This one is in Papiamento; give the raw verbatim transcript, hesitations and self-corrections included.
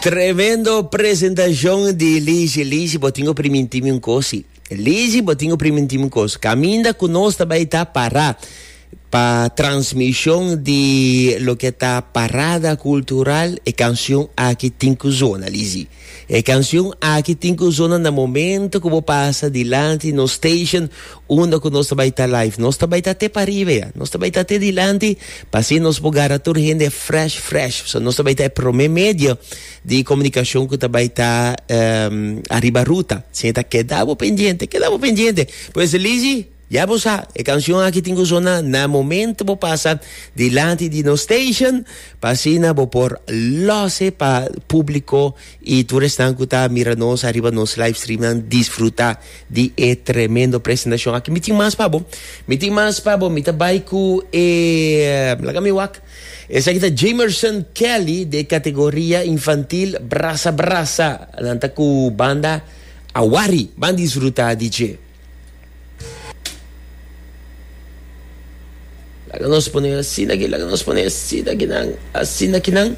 Tremendo presentashon di Lizzy. Lizzy, bo tin ku primintí mi un kos. Lizzy, bo tin ku primintí mi un kos. Kaminda ku nos tambe ta para pa transmishon di loke ta parada kultural e kansion aki tin ku zona, Lizzy. E kansion aki tin ku zona na momento ku bo pasa dilanti nos station unda ku nos tambe ta live. Nos tambe ta te pariba, nos tambe ta te dilanti, pa asina nos por gara tur hende fresh, fresh. So, nos tambe ta promé medio di komunikashon ku tambe ta um, ariba ruta. Asina ta keda bo pendiente, keda bo pendiente. Pues Lizzy, ya bo sa, e kansion aki tin ku zona na momento bo pasa dilanti di nos station, pa asina bo por los e pa públiko i tur esnan ku ta mira nos ariba nos live stream disfrutá di e tremendo presentashon. Aki mi tin mas pa bo, mi tin mas pa bo, mi ta bai ku e laga mi wak. Esaki ta Jamerson Kelly di kategoria infantil Brasa Brasa, nan ta ku banda Awari, ban disfrutá di dje. Laga nos pone asina aki, laga nos pone asina aki nan, asina aki nan.